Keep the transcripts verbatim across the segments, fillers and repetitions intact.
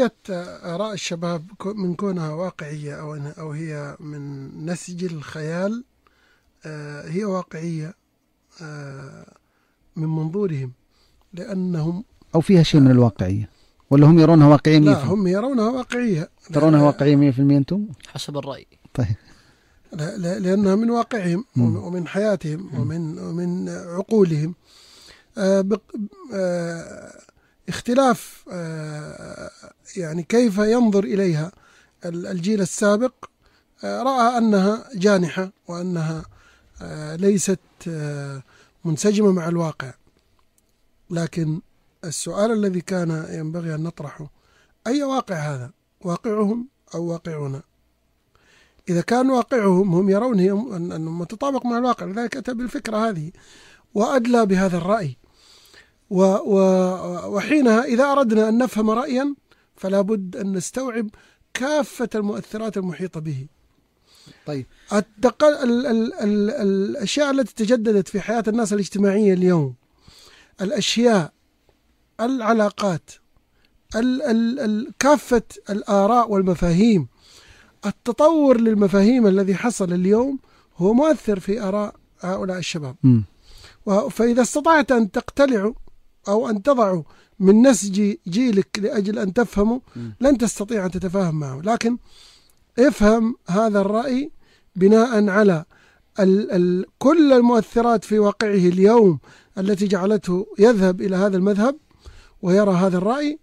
قضية آراء الشباب من كونها واقعية أو أو هي من نسج الخيال، هي واقعية من منظورهم، لأنهم أو فيها شيء من الواقعية، ولا هم يرونها واقعية مية في المية؟ لا، هم يرونها واقعية. ترونها واقعية مية في المية أنتم؟ حسب الرأي. طيب. لا لا لأنها من واقعهم ومن حياتهم ومن ومن عقولهم. آه آه اختلاف آه يعني كيف ينظر إليها الجيل السابق، آه رأى أنها جانحة وأنها آه ليست آه منسجمة مع الواقع. لكن السؤال الذي كان ينبغي أن نطرحه: أي واقع هذا؟ واقعهم أو واقعنا؟ إذا كان واقعهم هم يرونه أنه متطابق مع الواقع، لذلك أتى بالفكرة هذه وأدلى بهذا الرأي. وحينها إذا أردنا أن نفهم رأيا فلا بد أن نستوعب كافة المؤثرات المحيطة به. طيب. التق... ال... ال... ال... الأشياء التي تجددت في حياة الناس الاجتماعية اليوم، الأشياء، العلاقات، ال... ال... ال... كافة الآراء والمفاهيم، التطور للمفاهيم الذي حصل اليوم هو مؤثر في آراء هؤلاء الشباب. م. فإذا استطعت أن تقتلعوا أو أن تضعوا من نسج جيلك لأجل أن تفهموا، لن تستطيع أن تتفاهم معه. لكن افهم هذا الرأي بناء على ال ال كل المؤثرات في واقعه اليوم التي جعلته يذهب إلى هذا المذهب ويرى هذا الرأي،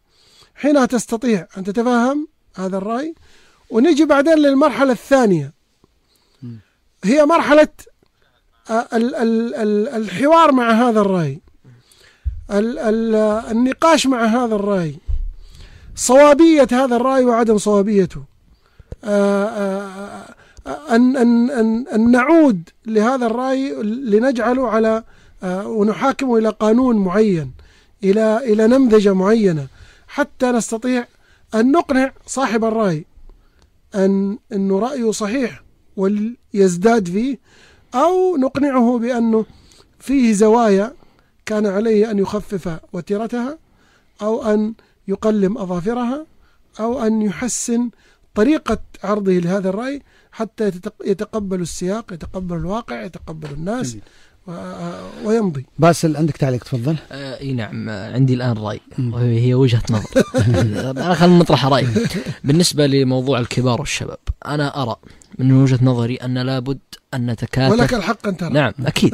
حينها تستطيع أن تتفهم هذا الرأي. ونجي بعدين للمرحلة الثانية، هي مرحلة ال ال ال الحوار مع هذا الرأي، ال ال النقاش مع هذا الرأي، صوابية هذا الرأي وعدم صوابيته، أن, أن, أن, أن نعود لهذا الرأي لنجعله على ونحاكمه إلى قانون معين، إلى إلى نمذجة معينة، حتى نستطيع أن نقنع صاحب الرأي أن أنه رأيه صحيح ويزداد فيه، أو نقنعه بأنه فيه زوايا كان عليه أن يخفف وتيرتها، أو أن يقلم أظافرها، أو أن يحسن طريقة عرضه لهذا الرأي حتى يتقبل السياق، يتقبل الواقع، يتقبل الناس ويمضي. باسل عندك تعليق؟ تفضل. آه اي نعم، عندي الآن رأي وهي وجهة نظر. خلينا نطرح رأي بالنسبة لموضوع الكبار والشباب. أنا أرى من وجهة نظري أن لابد أن نتكاتف، ولك الحق أن ترى. نعم أكيد.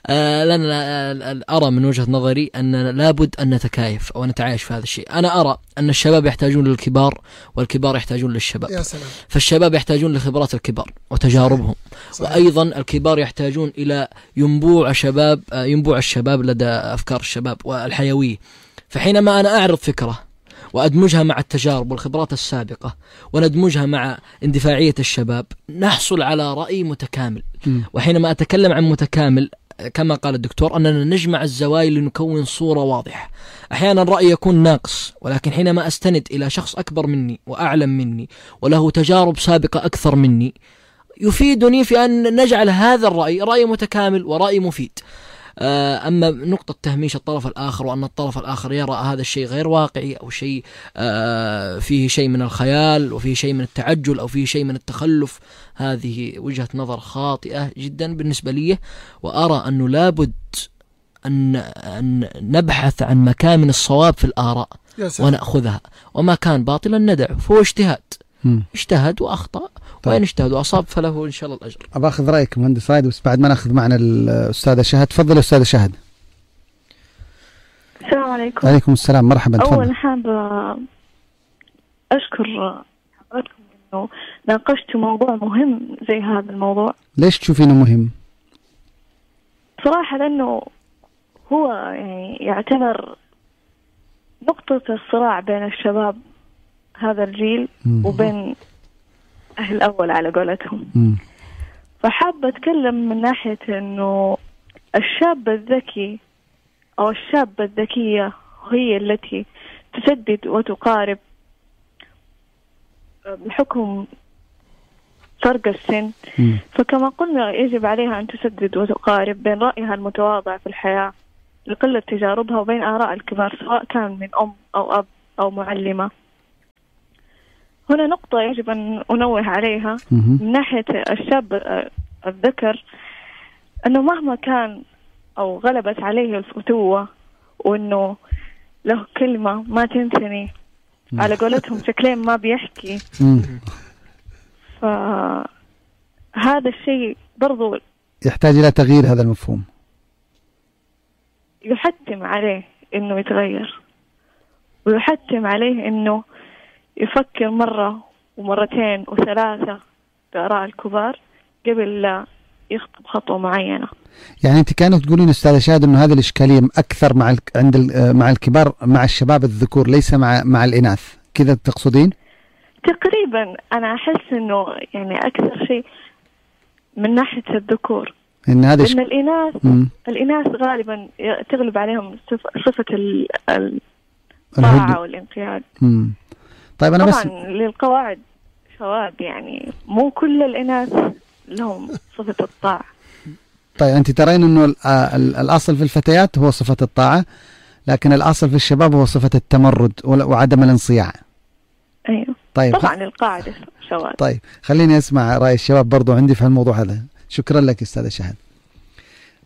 آه لأن أرى من وجهة نظري أن لابد أن نتكايف أو نتعايش في هذا الشيء. أنا أرى أن الشباب يحتاجون للكبار والكبار يحتاجون للشباب. يا سلام. فالشباب يحتاجون لخبرات الكبار وتجاربهم. صحيح. وأيضا الكبار يحتاجون إلى ينبوع شباب ينبوع الشباب لدى أفكار الشباب والحيوية. فحينما أنا أعرض فكرة وأدمجها مع التجارب والخبرات السابقة وندمجها مع اندفاعية الشباب، نحصل على رأي متكامل. م. وحينما أتكلم عن متكامل كما قال الدكتور أننا نجمع الزوايا لنكون صورة واضحة. أحيانا الرأي يكون ناقص، ولكن حينما أستند إلى شخص أكبر مني وأعلم مني وله تجارب سابقة أكثر مني يفيدني في أن نجعل هذا الرأي رأي متكامل ورأي مفيد. أما نقطة تهميش الطرف الآخر وأن الطرف الآخر يرى هذا الشيء غير واقعي أو شيء فيه شيء من الخيال وفيه شيء من التعجل أو فيه شيء من التخلف، هذه وجهة نظر خاطئة جدا بالنسبة لي. وأرى أنه لابد أن, أن نبحث عن مكامن الصواب في الآراء ونأخذها، وما كان باطلا ندعه، فهو اجتهاد. اجتهد وأخطأ. طيب. وين اجتهد وأصاب فله إن شاء الله الأجر. أبغى أخذ رأيك مهندس رايد، بس بعد ما نأخذ معنا الأستاذة شهد. تفضل أستاذة شهد. السلام عليكم. عليكم السلام، مرحبا. أول حابة أشكر حضراتكم إنه ناقشتوا موضوع مهم زي هذا الموضوع. ليش تشوفينه مهم؟ صراحة لأنه هو يعني يعتبر نقطة الصراع بين الشباب هذا الجيل م. وبين أهل الأول على قولتهم. م. فحابة أتكلم من ناحية إنه الشاب الذكي أو الشابة الذكية هي التي تسدد وتقارب بحكم فرق السن. م. فكما قلنا يجب عليها أن تسدد وتقارب بين رأيها المتواضع في الحياة لقلة تجاربها وبين آراء الكبار، سواء كان من أم أو أب أو معلمة. هنا نقطة يجب أن أنوه عليها من ناحية الشاب الذكر، أنه مهما كان أو غلبت عليه الفتوة وأنه له كلمة ما تنثني على قولتهم شكلين ما بيحكي، فهذا الشيء برضو يحتاج إلى تغيير هذا المفهوم، يحتم عليه أنه يتغير، ويحتم عليه أنه يفكر مرة ومرتين وثلاثة بآراء الكبار قبل لا يخطب خطوة معينة. يعني أنت كانت تقولين أستاذة شاهد إنه هذه الإشكالية أكثر مع عند مع الكبار، مع الشباب الذكور، ليس مع مع الإناث، كذا تقصدين؟ تقريبا أنا أحس إنه يعني أكثر شيء من ناحية الذكور، إن هذا إن الإناث م. الإناث غالبا تغلب عليهم صفة الطاعة والانقياد. امم طيب أنا طبعا بس للقواعد شواذ، يعني مو كل الإناث لهم صفة الطاعة. طيب أنت ترين إنه الأصل في الفتيات هو صفة الطاعة، لكن الأصل في الشباب هو صفة التمرد وعدم الانصياع. أيوه طيب طبعا خ... القاعدة شواذ. طيب خليني أسمع رأي الشباب برضو عندي في الموضوع هذا. شكرا لك أستاذة شهد،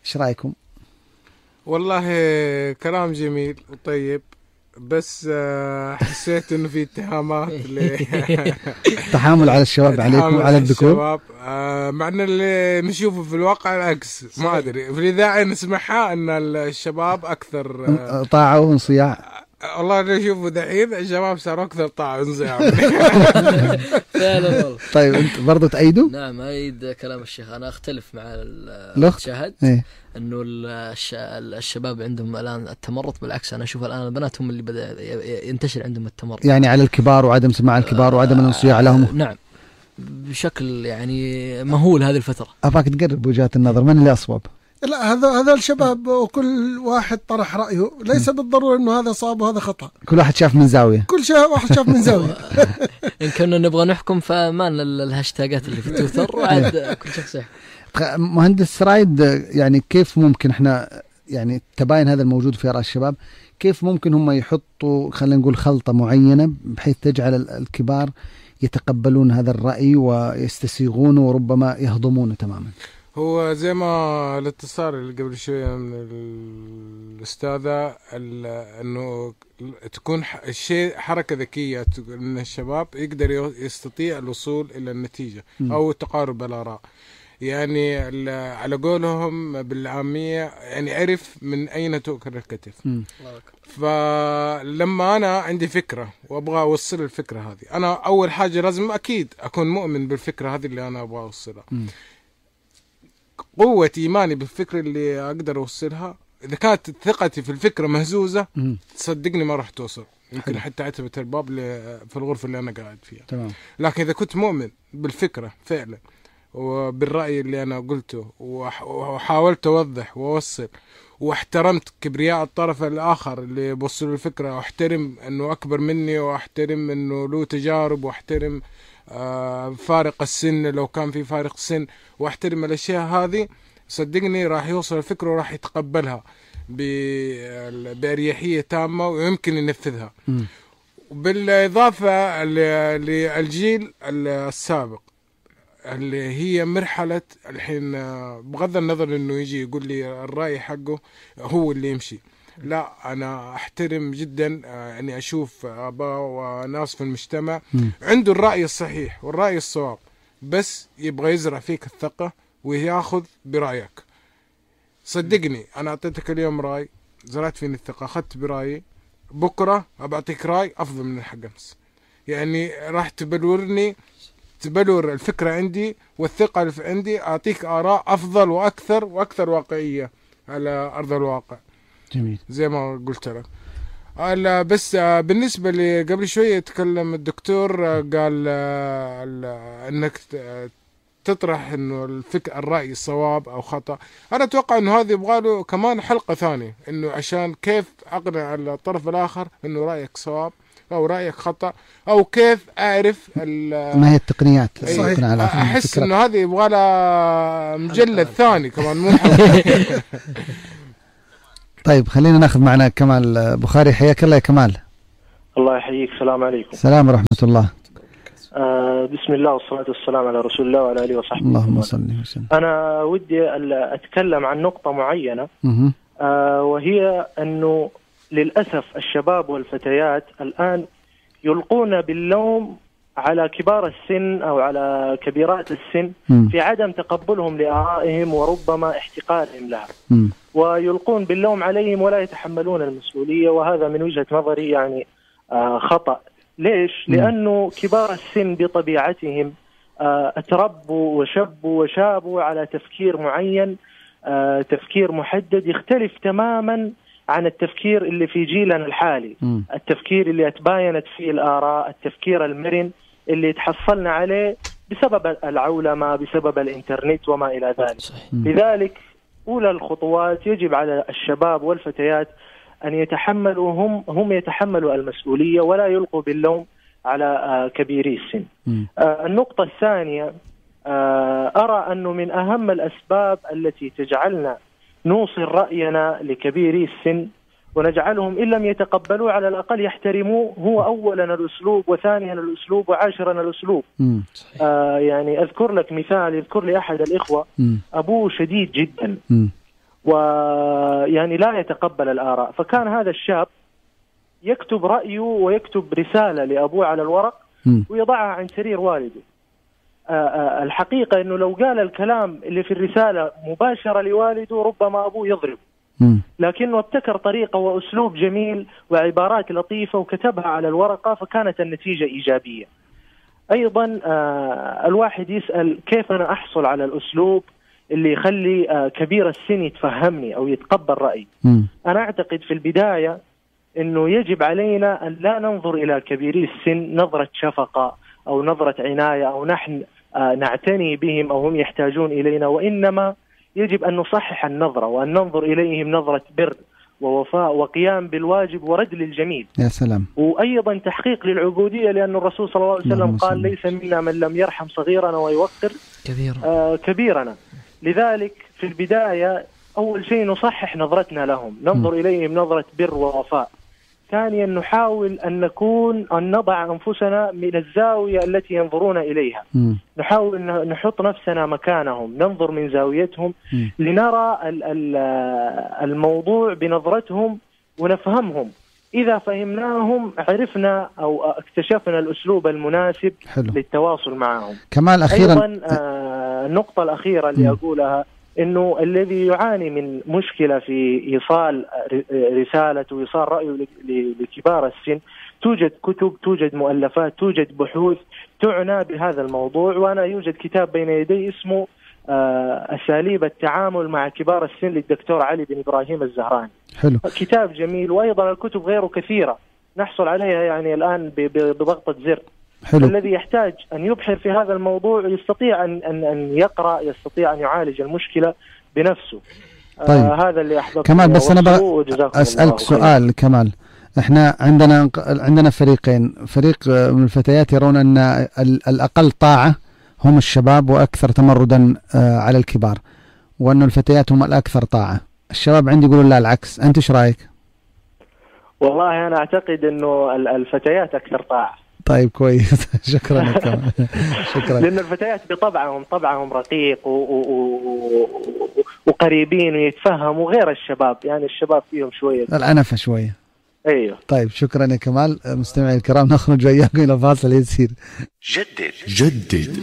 إيش رأيكم؟ والله كلام جميل وطيب، بس حسيت انه في اتهامات تحامل على الشباب عليكم وعلى الذكور، مع ان اللي نشوفه في الواقع العكس. ما ادري في الاذاعه نسمعها ان الشباب اكثر طاعه وانصياع. والله اللي نشوفه دحين الشباب صاروا اكثر طاعه وانصياع. فعلا والله. طيب انت برضو تأيدوا؟ نعم أيد كلام الشيخ. انا اختلف مع الشهد إيه؟ انه الشباب عندهم الان التمرد، بالعكس انا اشوف الان البنات هم اللي بدا ينتشر عندهم التمرد، يعني على الكبار وعدم سماع الكبار وعدم الانصياع لهم. نعم بشكل يعني مهول هذه الفتره. اباك تقرب وجهات النظر، من اللي اصوب؟ لا هذا هذا الشباب وكل واحد طرح رأيه، ليس بالضرورة انه هذا صواب وهذا خطأ، كل واحد شاف من زاوية، كل شيء واحد شاف من زاوية. إن كنا نبغى نحكم فما الهاشتاجات اللي في تويتر وعاد كل شخص يحكم. مهندس رايد، يعني كيف ممكن احنا يعني تباين هذا الموجود في آراء الشباب، كيف ممكن هم يحطوا خلينا نقول خلطة معينة بحيث تجعل الكبار يتقبلون هذا الرأي ويستسيغونه وربما يهضمونه تماما؟ هو زي ما الاتصال اللي قبل شوية من الأستاذة، أنه تكون الشيء حركة ذكية من الشباب يقدر يستطيع الوصول إلى النتيجة أو تقارب الآراء. يعني على قولهم بالعامية يعني عرف من أين تؤكل الكتف. فلما أنا عندي فكرة وأبغى أوصل الفكرة هذه، أنا أول حاجة لازم أكيد أكون مؤمن بالفكرة هذه اللي أنا أبغى أوصلها. قوة إيماني بالفكرة اللي أقدر أوصلها، إذا كانت ثقتي في الفكرة مهزوزة تصدقني ما راح توصل، يمكن حتى أعتبت الباب في الغرفة اللي أنا قاعد فيها. تمام. لكن إذا كنت مؤمن بالفكرة فعلا وبالرأي اللي أنا قلته وحاولت أوضح وأوصل واحترمت كبرياء الطرف الآخر اللي بوصل الفكرة، واحترم أنه أكبر مني، واحترم أنه له تجارب، واحترم آه فارق السن لو كان في فارق سن، واحترم الأشياء هذه، صدقني راح يوصل الفكرة وراح يتقبلها بأريحية تامة ويمكن ينفذها. بالإضافة للجيل السابق اللي هي مرحلة الحين، بغض النظر انه يجي يقول لي الرأي حقه هو اللي يمشي، لا انا احترم جدا اني اشوف اباء وناس في المجتمع عنده الرأي الصحيح والرأي الصواب، بس يبغى يزرع فيك الثقة وياخذ برأيك. صدقني انا اعطيتك اليوم رأي، زرعت فيني الثقة، اخذت برأيي، بكرة ابعطيك رأي افضل من الحق امس، يعني راح تبلورني تبلور الفكرة عندي والثقة اللي في عندي، أعطيك آراء أفضل وأكثر وأكثر واقعية على أرض الواقع. جميل. زي ما قلت لك. بس بالنسبة لي قبل شوية يتكلم الدكتور قال أنك تطرح أنه الفكر الرأي صواب أو خطأ. أنا أتوقع أنه هذا يبغى له كمان حلقة ثانية، أنه عشان كيف أقنع الطرف الآخر أنه رأيك صواب أو رأيك خطأ، أو كيف أعرف ما هي التقنيات. صحيح. أحس إنه هذه يبغى لها مجلد ثاني كمان مو طيب خلينا ناخذ معنا كمال بخاري. حياك الله يا كمال. الله يحييك. السلام عليكم. السلام ورحمة الله. آه بسم الله والصلاة والسلام على رسول الله وعلى آله وصحبه. اللهم صل وسلم. أنا ودي أتكلم عن نقطة معينة، آه وهي أنه للأسف الشباب والفتيات الآن يلقون باللوم على كبار السن أو على كبيرات السن م. في عدم تقبلهم لآرائهم وربما احتقارهم لها، م. ويلقون باللوم عليهم ولا يتحملون المسؤولية، وهذا من وجهة نظري يعني آه خطأ. ليش؟ م. لأنه كبار السن بطبيعتهم آه اتربوا وشبوا وشابوا على تفكير معين، آه تفكير محدد يختلف تماما عن التفكير اللي في جيلنا الحالي، م. التفكير اللي اتباينت فيه الآراء، التفكير المرن اللي تحصلنا عليه بسبب العولمة، بسبب الإنترنت وما إلى ذلك. لذلك أولى الخطوات يجب على الشباب والفتيات أن يتحملوا هم هم يتحملوا المسؤولية ولا يلقوا باللوم على كبيري السن. النقطة الثانية، أرى أنه من أهم الأسباب التي تجعلنا نوصل رأينا لكبيري السن ونجعلهم إن لم يتقبلوا على الأقل يحترموه، هو أولا الأسلوب، وثانيا الأسلوب، وعاشرا الأسلوب. آه يعني أذكر لك مثال، يذكر لي أحد الإخوة مم. أبوه شديد جدا ويعني لا يتقبل الآراء، فكان هذا الشاب يكتب رأيه ويكتب رسالة لأبوه على الورق مم. ويضعها عن سرير والده. آه آه الحقيقة أنه لو قال الكلام اللي في الرسالة مباشرة لوالده ربما أبوه يضرب، لكنه ابتكر طريقة وأسلوب جميل وعبارات لطيفة وكتبها على الورقة، فكانت النتيجة إيجابية. أيضا آه الواحد يسأل كيف أنا أحصل على الأسلوب اللي يخلي آه كبير السن يتفهمني أو يتقبل رأيي. م. أنا أعتقد في البداية أنه يجب علينا أن لا ننظر إلى كبيري السن نظرة شفقة أو نظرة عناية أو نحن آه نعتني بهم أو هم يحتاجون إلينا، وإنما يجب أن نصحح النظرة وأن ننظر إليهم نظرة بر ووفاء وقيام بالواجب ورد للجميل. يا سلام. وأيضا تحقيق للعبودية، لأن الرسول صلى الله عليه وسلم قال ليس منا من لم يرحم صغيرنا ويوقر كبيرنا. آه كبيرنا. لذلك في البداية أول شيء نصحح نظرتنا لهم، ننظر م. إليهم نظرة بر ووفاء. ثانيا نحاول أن نكون أن نضع أنفسنا من الزاوية التي ينظرون إليها، م. نحاول نحط نفسنا مكانهم، ننظر من زاويتهم م. لنرى الموضوع بنظرتهم ونفهمهم. إذا فهمناهم عرفنا أو اكتشفنا الأسلوب المناسب حلو. للتواصل معهم. كمال أخيرا أيضا آه النقطة الأخيرة اللي م. أقولها إنه الذي يعاني من مشكلة في إيصال رسالة وإيصال رأيه لكبار السن، توجد كتب، توجد مؤلفات، توجد بحوث تعنى بهذا الموضوع، وأنا يوجد كتاب بين يدي اسمه أساليب التعامل مع كبار السن للدكتور علي بن إبراهيم الزهراني. حلو. كتاب جميل، وأيضا الكتب غيره كثيرة نحصل عليها يعني الآن بضغطة زر. حلو. الذي يحتاج أن يبحر في هذا الموضوع يستطيع أن أن أن يقرأ، يستطيع أن يعالج المشكلة بنفسه. طيب. آه هذا اللي أحببت كمال، بس أنا بقى أسألك سؤال كمال. إحنا عندنا عندنا فريقين، فريق من الفتيات يرون أن الأقل طاعة هم الشباب وأكثر تمردا على الكبار، وأن الفتيات هم الأكثر طاعة. الشباب عندي يقولون لا العكس، أنت إيش رأيك؟ والله أنا أعتقد إنه الفتيات أكثر طاعة. طيب كويس. شكرا لك. شكرا. لأن الفتيات بطبعهم طبعهم رقيق و... و... وقريبين ويتفهموا غير الشباب، يعني الشباب فيهم شوية العنفة شوية. ايوه. طيب شكرا يا كمال. مستمعي الكرام، نخرج وياكم إلى فاصل يسير. جدد جدد